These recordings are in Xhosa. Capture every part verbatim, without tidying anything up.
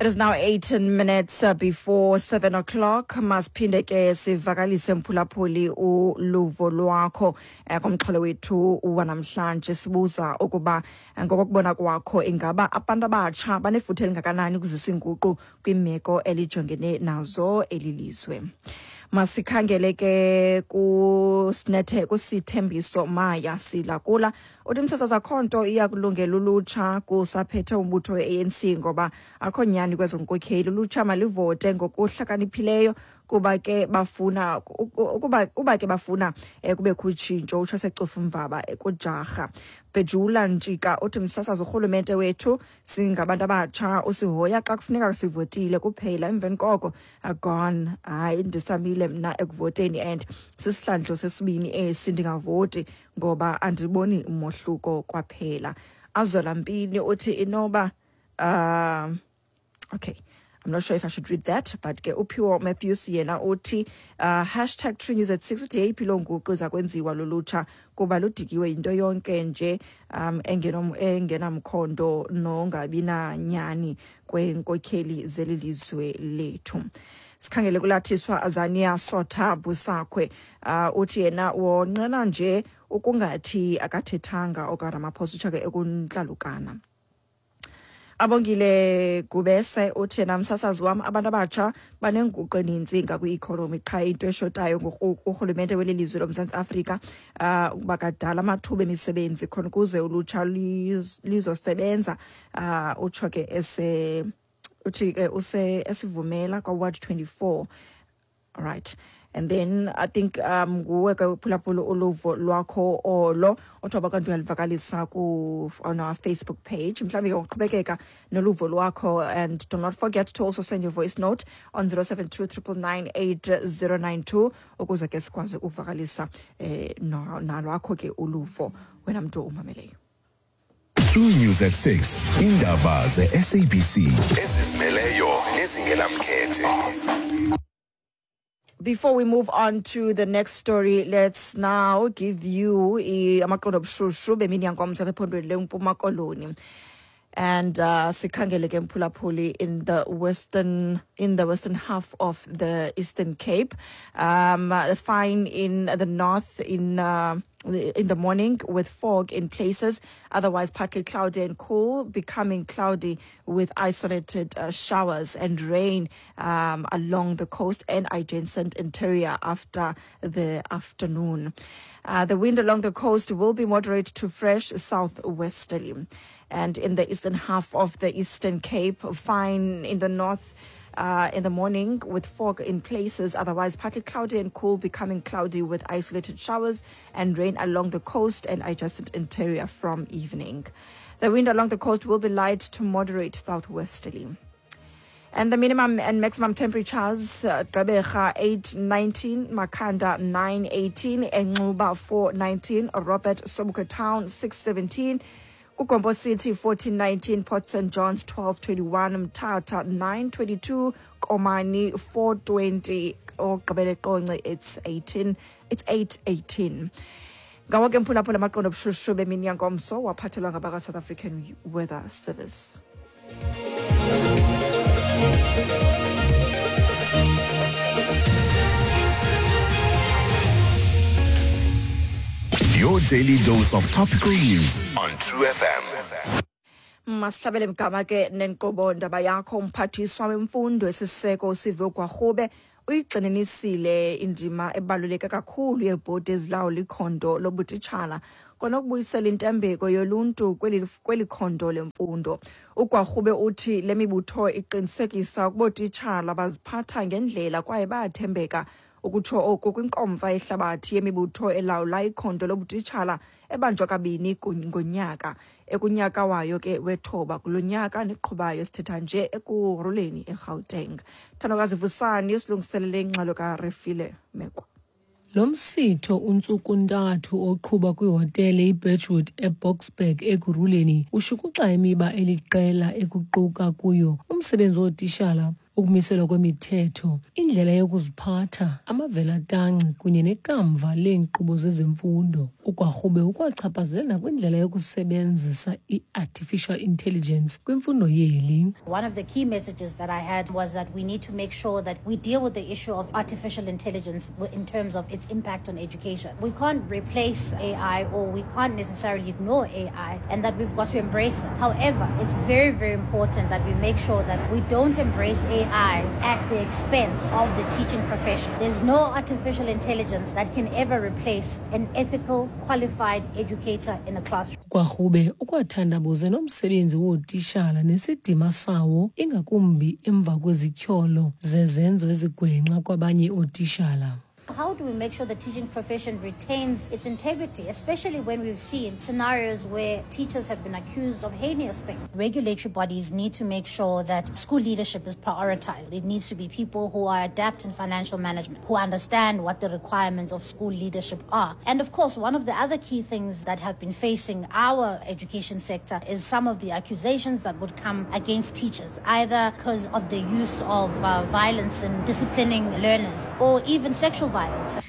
It is now eighteen minutes uh, before seven o'clock. Masiphinde ke sivakalise, mphulaphuli, uluvo lwakho eh, kumxholo wethu wanamhlanje. Sibuza ukuba eh, ngokokubona kwakho, ingaba abantu abatsha banefuthe elingakanani ukuzisa inguqu kwimeko elijongene nazo eli lizwe? Masikhangele ke kusinethe kuSithembiso Maya Silakula, uthi, "Msasazi, akho nto iyakulungela ulutsha kusaphethe umbutho we-A N C, ngoba akho nyani kwezo nkokheli. Ulutsha malivote ngokuhlakaniphileyo kuba ke bafuna ukuba kuba ke bafuna eh, kubekho utshintsho." Utsho seCofimvaba kujarha. Bhejula Ntshika uthi, "Msasazi, urhulumente wethu singabantu abatsha usihoya xa kufuneka sivotile kuphela, emveni koko gone. Hayi, ndisamile mna ekuvoteni and sisihlandlo sesibini esi ndingavoti ngoba andiboni mohluko kwaphela." Azola Mpini uthi inoba uh, okay, I'm not sure if I should read that, but ke uPhiwo Matthews yena uthi uh, hashtag True News at six, uthi yeyiphi loo nguqu iza kwenziwa lulutsha, kuba ludikiwe yinto yonke nje um engenom- engenamkhondo nongabi nanyani kweenkokheli zeli lizwe lethu. Sikhangele kuLathiswa Azania Sotha Busakhwe, uh, uthi yena wonqena nje ukungathi akathethanga okaRamaphosa, utsho ke ekuntlalukana. Abongile Gubese uthi yena, "Msasazi wam, abantu abatsha banenguqu eninzi ngakwi-economy, qha into eshotayo kurhulumente weli lizwe loMzantsi Afrika uh, ukuba kadala amathuba emisebenzi khona ukuze ulutsha liz- lizosebenza." uh, utsho ke ese uthi ke use esivumela kwa-ward twenty-four. All right, and then I think um nguwe ke, phulaphula, uluvo lwakho olo othi waba kanti uyalivakalisa ku on our Facebook page. Mhlawumbi ke uqhubekeka noluvo lwakho, and do not forget to also send your voice note on zero seven two nine nine nine eight zero nine two ukuze ke sikwazi ukuvakalisa eh no- nalwakho ke uluvo, wena mntu umameleyo. True News at six. Indaba ze-S A B C ezizimeleyo nezingenamkhethe. Before we move on to the next story, let's now give you i- amaqondo obushushu bemini yangomso apha ephondweni leMpuma Koloni. And uh, sikhangele ke, mphulaphuli, in the western in the western half of the Eastern Cape. Um, uh, fine in the north in uh, in the morning with fog in places. Otherwise, partly cloudy and cool, becoming cloudy with isolated uh, showers and rain um, along the coast and adjacent interior after the afternoon. Uh, the wind along the coast will be moderate to fresh southwesterly. And in the eastern half of the Eastern Cape, fine in the north uh, in the morning with fog in places, otherwise partly cloudy and cool, becoming cloudy with isolated showers and rain along the coast and adjacent interior from evening. The wind along the coast will be light to moderate southwesterly. And the minimum and maximum temperatures, uh, Gqeberha eight nineteen, Makhanda nine eighteen, Enxuba four nineteen, Robert Sobukwe Town six seventeen, KuGompo City fourteen nineteen, Port Saint John's twelve twenty-one, Mthatha nine twenty-two, Komani four twenty, ogqibele Qonce it's eighteen, it's eight eighteen. Ngawo ke, mphulaphula, amaqondo obushushu bemini yangomso waphathelwa ngabaka South African Weather Service. Your daily dose of topical news on True F M. Masihlabele mgama ke nenkqubo Ndaba Yakho. Umphathiswa wemfundo esiseko uSiviwe Gwarube uyigxininisile indima ebaluleke kakhulu yeebhodi ezilawula ikhondo lobutitshala kwanokubuyisela intembeko yoluntu kweli kweli khondo lemfundo. UGwarube uthi le mibutho iqinisekisa ukuba ootitshala baziphatha ngendlela kwaye bayathembeka. Ukutsho oku kwinkomfa yehlabathi yemibutho elawula ikhondo lobutitshala ebanjwa kabini ngonyaka, ekunyaka wayo ke wethoba kulo nyaka neqhubayo sithetha nje Ekurhuleni eGauteng. Thandokazi Vusani usilungiselele ingxelo kaRefile Mekwa. Lo msitho untsuku-ntathu oqhuba kwihotele iBirchwood eBoksburg Ekurhuleni ushukuxa imiba eliqela ekuquka kuyo umsebenzi wootishala. Ukumiselwa kwemithetho, indlela yokuziphatha, amavelatanci kunye nekamva leenkqubo zezemfundo. Ukwarhube ukwachaphazela nakwindlela yokusebenzisa i-artificial intelligence kwimfundo yeli. One of the key messages that I had was that we need to make sure that we deal with the issue of artificial intelligence in terms of its impact on education. We can't replace A I or we can't necessarily ignore A I, and that we've got to embrace it. However, it's very, very important that we make sure that we don't embrace A I at the expense of the teaching profession. There's no artificial intelligence that can ever replace an ethical, qualified educator in a classroom. Kwarhube ukwathandabuze nomsebenzi wootishala nesidima sawo, ingakumbi emva kwezityholo zezenzo ezigwenxa kwabanye ootishala. How do we make sure the teaching profession retains its integrity, especially when we've seen scenarios where teachers have been accused of heinous things? Regulatory bodies need to make sure that school leadership is prioritized. It needs to be people who are adept in financial management, who understand what the requirements of school leadership are. And of course, one of the other key things that have been facing our education sector is some of the accusations that would come against teachers, either because of the use of uh, violence in disciplining learners or even sexual violence.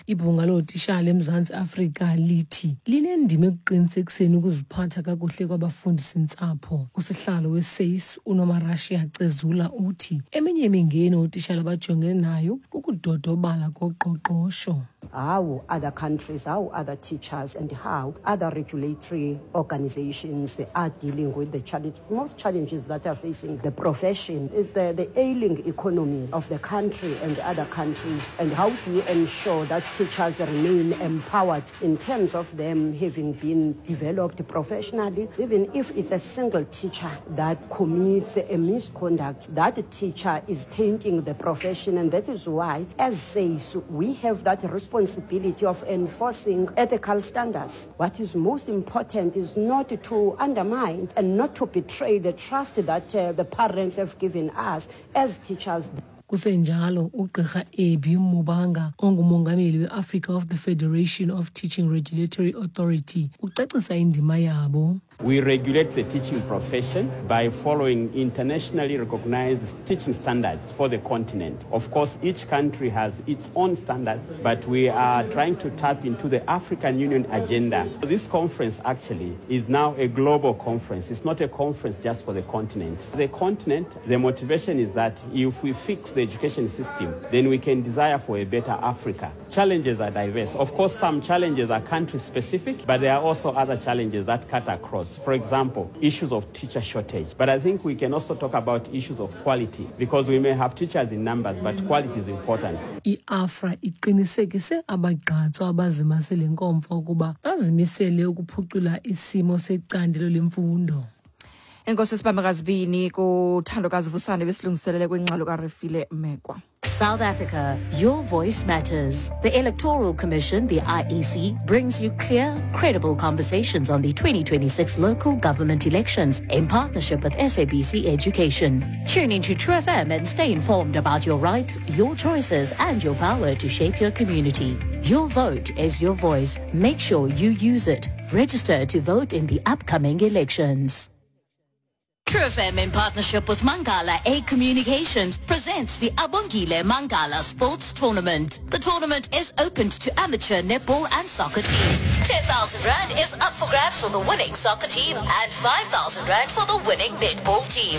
Ibhunga lootishala eMzantsi Afrika lithi linendima ekuqinisekiseni ukuziphatha kakuhle kwabafundisintsapho. Usihlalo we-SACE uNomarashiya Cezula uthi eminye imingeni ootishala abajongene nayo kukudodobala koqoqosho. How other countries, how other teachers, and how other regulatory organizations are dealing with the challenge. Most challenges that are facing the profession is the, the ailing economy of the country and other countries, and how do you ensure that teachers remain empowered in terms of them having been developed professionally? Even if it's a single teacher that commits a misconduct, that teacher is tainting the profession, and that is why, as SACE, we have that responsibility of enforcing ethical standards. What is most important is not to undermine and not to betray the trust that uh, the parents have given us as teachers. Kusenjalo, ugqirha Ebby Mubanga, ongumongameli we-Africa of the Federation of Teaching Regulatory Authority, ucacisa indima yabo. We regulate the teaching profession by following internationally recognized teaching standards for the continent. Of course, each country has its own standards, but we are trying to tap into the African Union agenda. This conference actually is now a global conference. It's not a conference just for the continent. As a continent, the motivation is that if we fix the education system, then we can desire for a better Africa. Challenges are diverse. Of course, some challenges are country specific, but there are also other challenges that cut across. For example, issues of teacher shortage. But I think we can also talk about issues of quality, because we may have teachers in numbers, but quality is important. I-AFRA iqinisekise abagqatswa abazimase le nkomfa ukuba bazimisele ukuphucula isimo secandelo lemfundo. Enkosi sibambekazibini kuThandokazi Vusane besilungiselele kwingxelo kaRefile Mekwa. South Africa, your voice matters. The Electoral Commission, the I E C, brings you clear, credible conversations on the twenty twenty-six local government elections in partnership with S A B C Education. Tune into True F M and stay informed about your rights, your choices, and your power to shape your community. Your vote is your voice. Make sure you use it. Register to vote in the upcoming elections. True F M in partnership with Mangala A Communications presents the Abongile Mangala Sports Tournament. The tournament is open to amateur netball and soccer teams. ten thousand Rand is up for grabs for the winning soccer team and five thousand Rand for the winning netball team.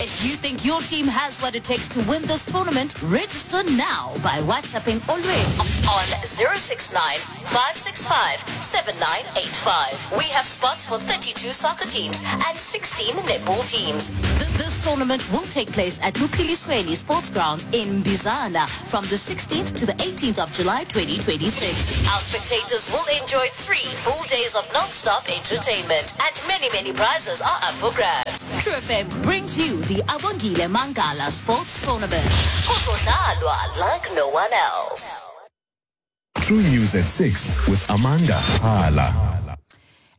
If you think your team has what it takes to win this tournament, register now by WhatsApping Always on zero six nine five six five seven nine eight five. We have spots for thirty-two soccer teams and sixteen netball teams. Th- This tournament will take place at Luphilisweni Sports Grounds in Bizana from the sixteenth to the eighteenth of July twenty twenty-six. Our spectators will enjoy three full days of non-stop entertainment and many, many prizes are up for grabs. True F M brings you the Abongile Mangala Sports Tournament. Kuzodlalwa like no one else. True News at six with Amanda Hala.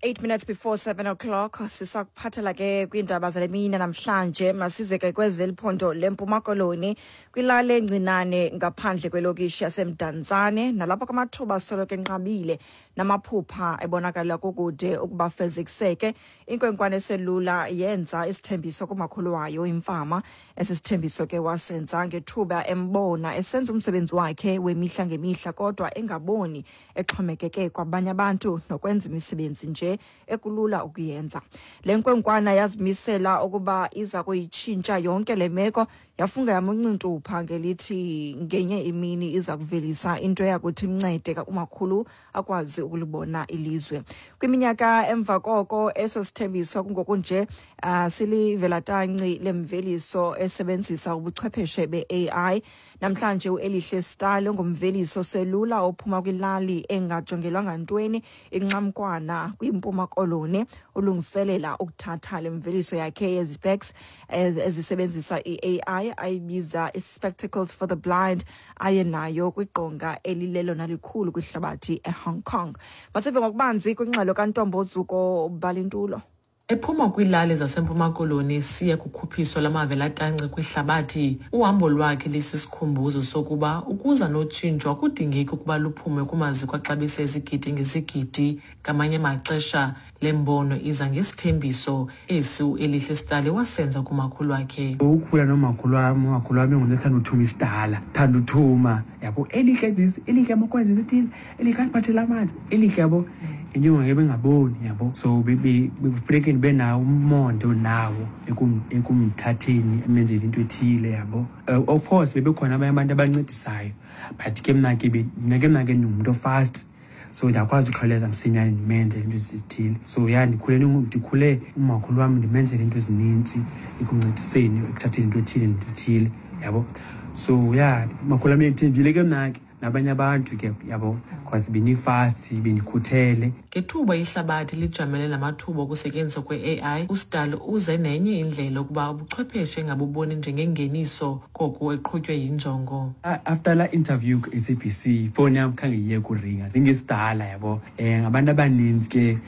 eight minutes before seven o'clock, sisakuphathela ke kwiindaba zale mini namhlanje. Masize ke kwezeliphondo leMpuma Koloni, kwilali encinane ngaphandle kwelokishi yaseMdantsane, nalapho kamathuba soloko enqabile Namaphupha ebonakala kukude ukuba fezekiseke. Inkwenkwana eselula yenza isithembiso kumakhulu wayo imfama. Esi sithembiso ke wasenza ngethuba embona esenza umsebenzi wakhe wemihla ngemihla kodwa engaboni, exhomekeke kwabanye abantu nokwenza imisebenzi nje ekulula ukuyenza. Le nkwenkwana yazimisela ukuba iza kuyitshintsha yonke le meko, yafunga yamuncintupha ngelithi ngenye imini iza kuvelisa into yakuthi imncede umakhulu akwazi ukulibona ilizwe. Kwiminyaka emva koko eso sithembiso kungokunje uh, silivelatanci lemveliso esebenzisa ubuchwepheshe be-A I. Namhlanje uElihle Stali ongumveliso selula ophuma kwilali engajongelwanga ntweni iNqamkwana kwiMpuma Koloni ulungiselela ukuthatha le mveliso yakhe yezipeks ezisebenzisa i-A I ayibiza i-Spectacles for the Blind aye nayo kwiqonga elilelona likhulu kwihlabathi eHong Kong. Masive ngokubanzi kwingxelo kaNtombo Zuko Balintulo. Ephuma kwiilali zaseMpuma Koloni siya kukhuphiso lamavelatanci kwihlabathi, uhambo lwakhe lisisikhumbuzo sokuba ukuza notshintsho akudingeki ukuba luphume kumaziko axabisa izigidi ngezigidi. Ngamanye amaxesha le mbono iza ngesithembiso esi uElihle Stali wasenza kumakhulu wakhe. Ukukhula nomakhulu wam, umakhulu wam engunothanda uthuma isidala, thanda uthuma, yabo, Elihle this, Elihle makwazi into ethile, Elihle andiphathele amanzi, Elihle, yabo. Injongo bengaboni, yabo. So bekufuneka ndibe nawo umonde onawo ekumthatheni emenzele into ethile, yabo. Of course bebekhona abanye abantu abancedisayo, but ke mna ke mna ke mna ke ndingumntu ofast, so ndiyakwazi ukhawuleza msinyane ndimenzele into ezithile. So ya ndikhule ndikhule umakhulu wam ndimenzele into ezinintsi ekumncediseni ekuthatheni into ethile nento ethile, yabo. So ya umakhulu wam endithembile ke mna ke nabanye abantu ke, yabo, because benifast benikhuthele. Ngethuba ihlabathi lijamele namathuba okusetyenziswa kwe-A I, uStali uze nenye indlela ukuba ubuchwepheshe engabuboni njengengeniso koko eqhutywe yinjongo. After la interview ku-S A B C, ifowuni yam khange iye kuringa, ringesidala, yabo. Um ngabantu abaninzi ke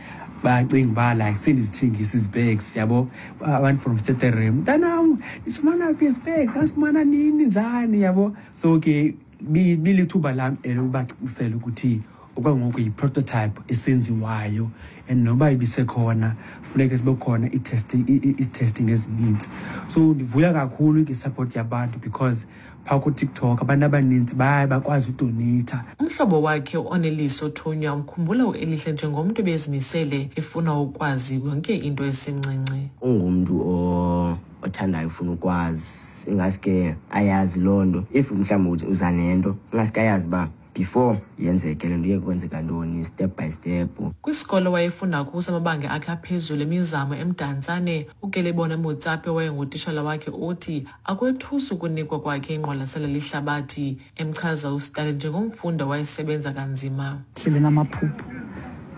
bacinga uba like sendizithengisa izipecs, yabo. Abantu from Stutterheim, mntanam ndisifumana phi izipecs, asifumana nini njani, yabo. So ke bilithuba lam elokubacacisela ukuthi okwangoku yi-prototype esenziwayo and noba ibisekhona funeke sibe khona i-testing i-testing ezininzi. So ndivuya kakhulu nge-support yabantu because phaa kuTikTok abantu abaninzi baye bakwazi udoneyitha. Umhlobo wakhe uOneliso Thunywa umkhumbula uElihle njengomntu ebezimisele efuna ukwazi yonke into esemncinci. Ungumntu o othandayo ufuna ukwazi, ingaske ayazi loo nto. If mhlawumbi uza nento, ingaske ayazi uba before yenzeke le nto iye kwenzeka ntoni, step by step. Kwisikolo wayefunda kuso amabanga akhe aphezulu emizamo eMdantsane, uKelebone Motsape wayengutishala wakhe uthi akwethusi ukunikwa kwakhe ingqwalasela lihlabathi, emchaza uStali njengomfundi owayesebenza kanzima. Hlele namaphupho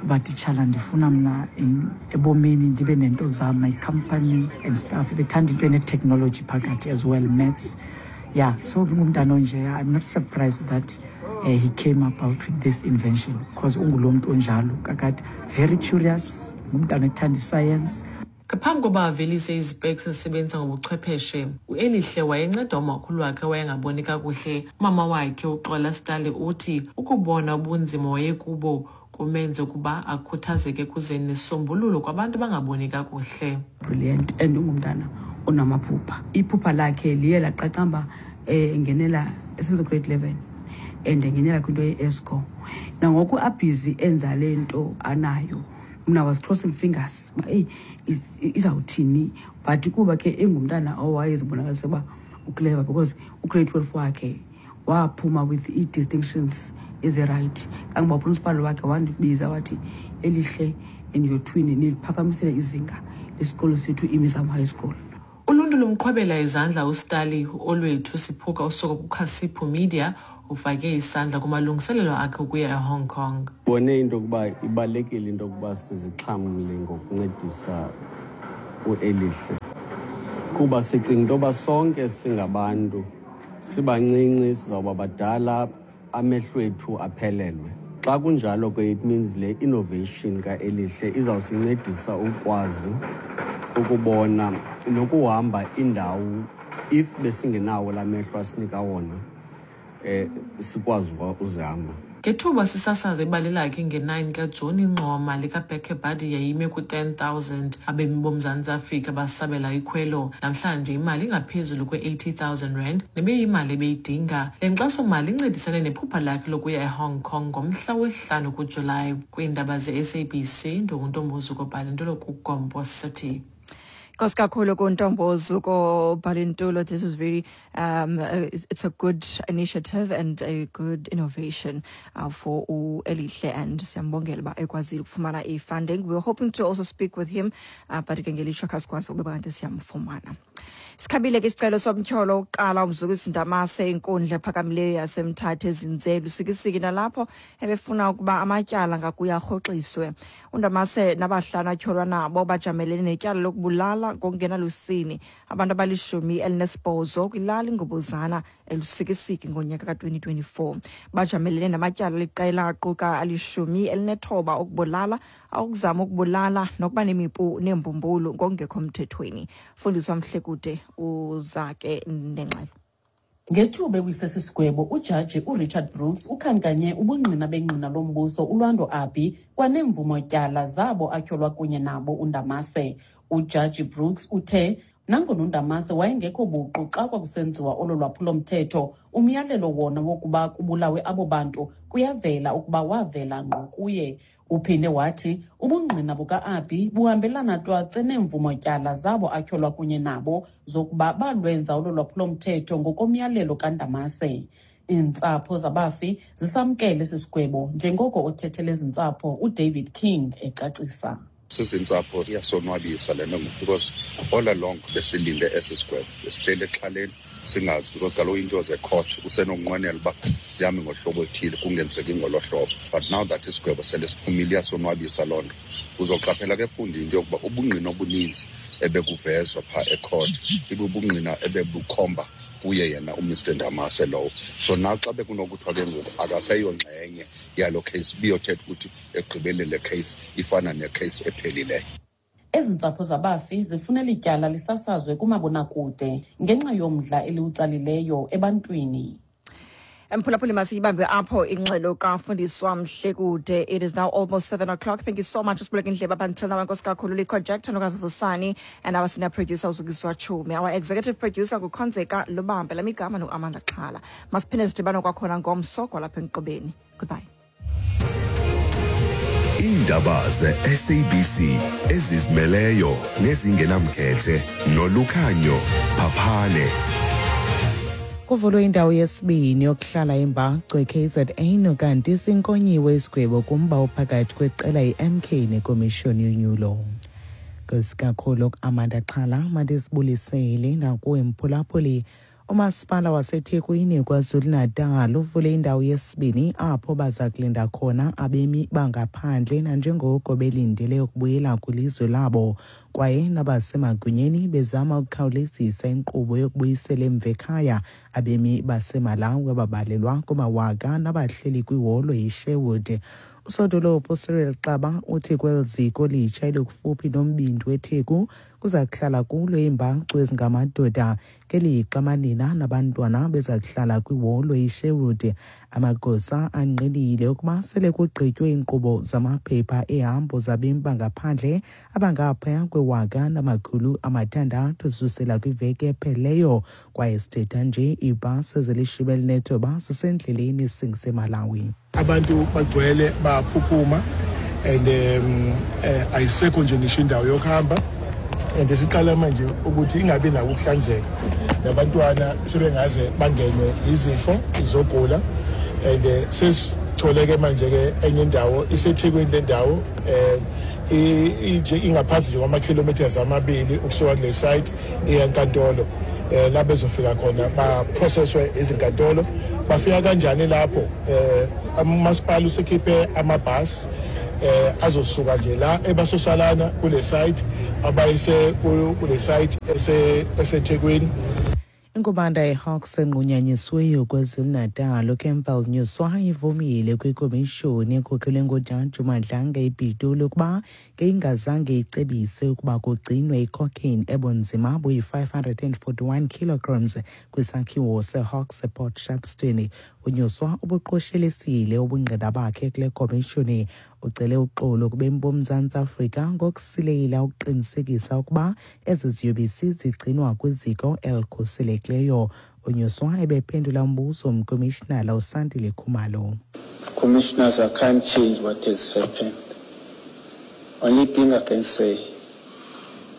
uba titshala ndifuna mna ebomini ndibe nento zam, my company and stuff. Bethanda into ene-technology phakathi as well, maths. Yeah, so ngumntana onje, I'm not surprised that uh, he came about with this invention because ungulo mntu onjalo kakade, very curious, ngumntana ethanda iscience. Ngaphambi koba avelise izipeks ezisebenzisa ngobuchwepheshe, uElihle wayenceda umakhulu wakhe wayengaboni kakuhle. Umama wakhe uXola Stali uthi ukubona ubunzima wayekubo kumenze ukuba akhuthazeke kuze nesisombululo kwabantu abangaboni kakuhle. Brilliant, and ungumntana onamaphupha. Iphupha lakhe liye laqaqamba engenela esenza grade eleven and engenela kwinto ye-ESCO. Nangoku abhizi enza le nto anayo. Mna was crossing fingers uba eyi izawuthini, but kuba ke engumntana owayezibonakalisa uba uclever because ugrade twelve wakhe waphuma with ii-distinctions ezirayithi. Kangoba uprincipal wakhe wandibiza wathi, Elihle and your twin niliphakamisele izinga lesikolo sethu iMizamo High School. Uluntu lumqhwabela izandla uStali. Olwethu Siphuka usuka kuKhasiphu Media ufake isandla kumalungiselelo akhe ukuya eHong Kong. Bone into yokuba ibalulekile into yokuba sizixhamle ngokuncedisa uElihle, kuba sicinga into yoba sonke singabantu, sibancinci sizawuba badala, amehlo ethu aphelelwe. Xa kunjalo ke it means le innovation kaElihle izawusincedisa ukwazi ukubona nokuhamba indawo if besingenawo la mehlo asinika wona, eh sikwazi uzihamba. Ngethuba sisasaza ibali lakhe nge-nine kaJuni, ingxowa-mali kaBeckerbadi yayime ku-ten thousand. Abemi boMzantsi Afrika basabela ikhwelo. Namhlanje imali ingaphezulu kwe-eighty thousand rand nebeyimali ebeyidinga. Le nkxaso-mali incedisane nephupha lakhe lokuya eHong Kong ngomhla wesihlanu kuJulayi. Kwiindaba ze-S A B C, ndinguNtombozuko Bhalintulo kuGompo City. Nkosi kakhulu kuNtombozuko Bhalintulo. This is very, um, uh, it's a good initiative and a good innovation uh, for uElihle, and siyambongela uba ekwazile ukufumana i-funding. We were hoping to also speak with him, uh, but ke ngelishwa kasikwazi ukuba kanti siyamfumana. Sikhabile ke isicelo somtyholo wokuqala uMzukisi Ndamase inkundla ephakamileyo yaseMthatha ezinze Lusikisiki, nalapho ebefuna ukuba amatyala ngakuye arhoxiswe. uNdamase nabahlanu atyholwa nabo bajamelene netyala lokubulala ngokungenalusini abantu abalishumi elinesibhozo kwilali Ngobozana eLusikisiki ngonyaka ka-twenty twenty-four. Bajamelene namatyala aliqela aquka alishumi elinethoba okubulala, awokuzama ukubulala nokuba nemipu neembumbulu ngokungekho mthethweni. Fundiswa Mhlekude uzake nengxelo. Ngethuba ewise sigwebo, ujaji uRichard Brooks ukhankanye ubungqina bengqina lombuso uLwando Abi kwanemvumo-tyala zabo atyholwa kunye nabo uNdamase. Ujaji Brooks uthe nangona uNdamase wayengekho buqu xa kwakusenziwa olo lwaphulomthetho, umyalelo wona wokuba kubulawe abo bantu kuyavela ukuba wavela ngqo kuye. Uphinde wathi ubungqina buka-Abi buhambelana twatse neemvumo-tyala zabo atyholwa kunye nabo zokuba balwenza olo lwaphulomthetho ngokomyalelo kaNdamase. Iintsapho zabafi zisamkele esi sigwebo njengoko othethele ezi ntsapho uDavid King ecacisa. Sizintsapho iyasonwabisa le nto because all along besilinde esi sigwebo, besihleli exhaleni singazi, because kaloku into zecourt usenokunqwenela uba zihambe ngohlobo oluthile kungenzeki ngolo hlobo. But now that isigwebo sele siphumile iyasonwabisa loo nto. Uzoqaphela ke fundi into yokuba ubungqina obuninzi ebekuvezwa phaa ecourt ibubungqina ebebukhomba kuye yena uMr Ndamase lowo. So now xa bekunokuthiwa ke ngoku akaseyongxenye yalo case, biyothetha ukuthi ekugqibeleni le case ifana necase ephelileyo. Ezi ntsapho zabafi zifuna ityala lisasazwe kumabonakude ngenxa yomdla eliwutsalileyo ebantwini. Mphulaphuli, masiyibambe apho ingxelo kaFundiswa Mhlekude. It is now almost seven o'clock. Thank you so much usibuleke indlebe up until now. Nkosi kakhulu Likhoject Nokazivusani and our senior producer uZukiswa Chumi. Our executive producer nguKhonzeka Lubambe. Lamigama noAmanda Xhala. Masiphinde sidibane kwakhona ngomso kwalapha enkqubeni. Goodbye. Iindaba ze-S A B C ezizimeleyo nezingenamkhethe nolukhanyo phaphane. Kuvulwe indawo yesibini yokuhlala imbacu e-K Z N kanti sinkonyiwe isigwebo kumba ophakathi kweqela i-M K nekomishoni yonyulo. Nkosi kakhulu Amanda Xhala, mandisibulisele nakuwe mphulaphuli. Umasipala waseThekwini KwaZulu-Natal uvule indawo yesibini apho baza kulinda khona abemi bangaphandle nanjengoko belindele ukubuyela kwilizwe labo, kwaye nabasemagunyeni bezama ukukhawulezisa inkqubo yokubuyisela emva ekhaya abemi baseMalawi ababalelwa kumawaka nabahleli kwiholo yeSherwood. Usodolophu Cyril Xaba uthi kweli ziko litsha elikufuphi nombindi weTheku kuza kuhlala kulo iimbacu ezingamadoda, ngelixa amanina nabantwana beza kuhlala kwiholo iSherwood. Amagosa angqinile ukuba sele kugqitywe iinkqubo zamaphepha ehambo zabemi bangaphandle abangaphaya kwewaka namakhulu amathandathu zisusela kwiveki ephelileyo, kwaye sithetha nje iibhasi ezilishumi elinethoba zisendleleni esingise eMalawi. Abantu bagcwele baphuphuma and um eh, ayisekho nje ngisho indawo yokuhamba, and siqala manje ukuthi ingabi nako ukuhlanzeka, nabantwana sebengaze bangenwe izifo zogula, and sesitholeke manje ke enye indawo iseThekwini. Le ndawo eh inje ingaphansi nje kwama-kilometers amabili ukusuka kule site eyankantolo, eh la bezofika khona ba processwe izinkantolo. Bafika kanjani lapho? Eh umasipala usekhiphe amabhasi eh azosuka nje la ebasosalana kule site abayise kule site ese eseThekwini. Inkubanda yeHawks enqunyanyisiweyo KwaZulu-Natal uCampbell Nyuswa ivumile kwikomishoni ekhokhelwe nguJaji uMadlanga ePitoli ukuba ngeyingazange icebise ukuba kugcinwe icocaine ebunzima buyi-five hundred and forty-one kilograms kwisakhiwo seHawks ePort Shepstone. UNyuswa ubuqoshelisile ubungqina bakhe kule komishoni. Ucele uxolo kubemi boMzantsi Afrika ngokusilela ukuqinisekisa ukuba ezi ziyobisi zigcinwa kwiziko elikhuselekileyo. UNyuswa ebephendula umbuzo mkomishinala uSandile Khumalo. Commissioners, I can't change what has happened. Only thing I can say,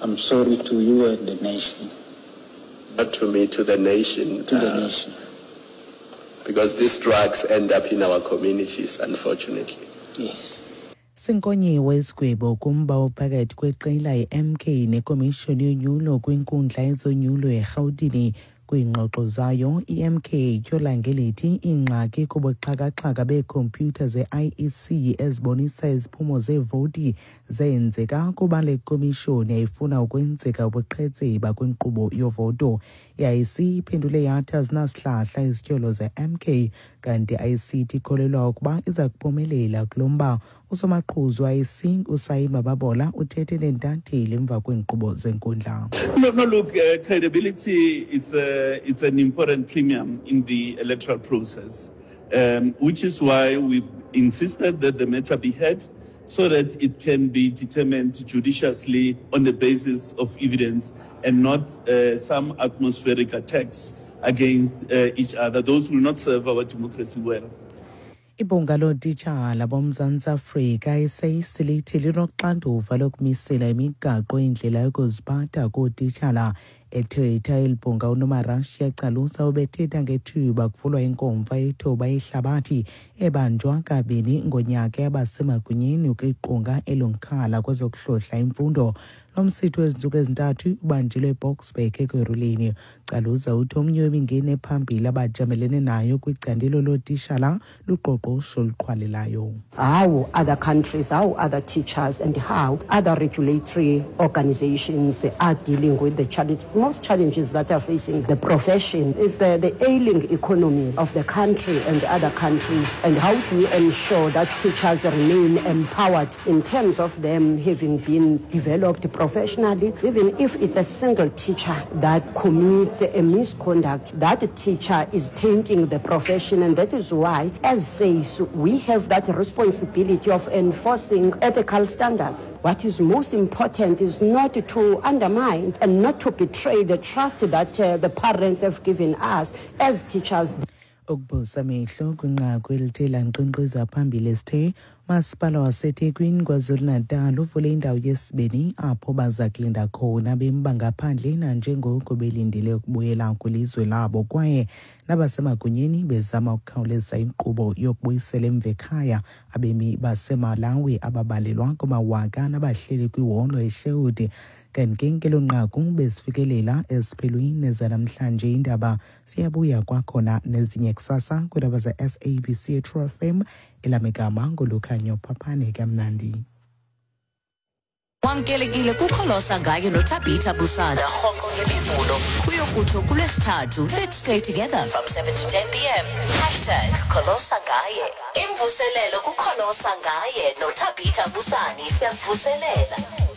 I'm sorry to you and the nation. Not to me, to the nation. To the uh, nation. Because these drugs end up in our communities, unfortunately. Yes. Sinkonyiwe isigwebo kumba ophakathi kweqela i-M K nekomishoni yonyulo kwinkundla yezonyulo eRhawutini. Kwiingxoxo zayo, i-M K ityhola ngelithi iingxaki kubuxhakaxhaka beekhompyutha ze-I E C ezibonisa iziphumo zeevoti zenzeka kuba le komishoni yayifuna ukwenzeka ubuqhetseba kwinkqubo yovoto. I-I E C iphendule yathi azinasihlahla izityholo ze-M K, kanti I E C ikholelwa ukuba iza kuphumelela kulo mba. Usomaqhuzu we-I E C uSaima Babola uthethe neentatheli emva kweenkqubo zenkundla. No, no, look, uh, credibility, it's, a, it's an important premium in the electoral process, um, which is why we've insisted that the matter be heard so that it can be determined judiciously on the basis of evidence and not uh, some atmospheric attacks against uh, each other. Those will not serve our democracy well. Ibhunga lootitshala boMzantsi Afrika i-S A C E lithi linoxanduva lokumisela imigaqo indlela yokuziphatha kootitshala. Ethetha eli bhunga, uNomarashiya Calusa ubethetha ngethuba kuvulwa inkomfa yethuba yehlabathi ebanjwa kabini ngonyaka yabasemagunyeni kwiqonga elongkhala kwezokuhlohla imfundo. Lo msitho wezintsuku ezintathu ubanjelwe eBoksburg eKurhuleni. Caluza uthi omnye wemingeni ephambili abajamelene nayo kwicandelo lootishala luqoqosho oluqhwalelayo. How other countries, how other teachers and how other regulatory organizations are dealing with the challenge. Most challenges that are facing the profession is the, the ailing economy of the country and other countries, and how do we ensure that teachers remain empowered in terms of them having been developed professionally. Even if it's a single teacher that commits a misconduct, that teacher is tainting the profession, and that is why, as S A C E, we have that responsibility of enforcing ethical standards. What is most important is not to undermine and not to betray the trust that uh, the parents have given us as teachers. Ukubusa amehlo kwinqaku elithe lankqenkqeza phambili esithe masipala waseThekwini KwaZulu-Natal uvule indawo yesibini apho baza kulinda khona abemi bangaphandle nanjengoko belindele ukubuyela kwilizwe labo, kwaye nabasemagunyeni bezama ukukhawuleza inkqubo yokubuyisela emva ekhaya abemi baseMalawi ababalelwa kumawaka nabahleli kwiholo eSherwood. Kanti ke ngelo nqaku besifikelela esiphelweni zanamhlanje indaba. Siyabuya kwakhona nezinye kusasa kwiindaba ze-S A B C True F M. Elamigama nguLukhanyo Phaphane. Kamnandi. Wamkelekile kuKholosa Ngaye noThabitha Busana rhoqo ngeMivulo kuyokutsho kuLwesithathu. Let's stay together from seven to ten p m. Hashtag Kholosa Ngaye. Imvuselelo kuKholosa Ngaye noThabitha Busani, siyakuvuselela.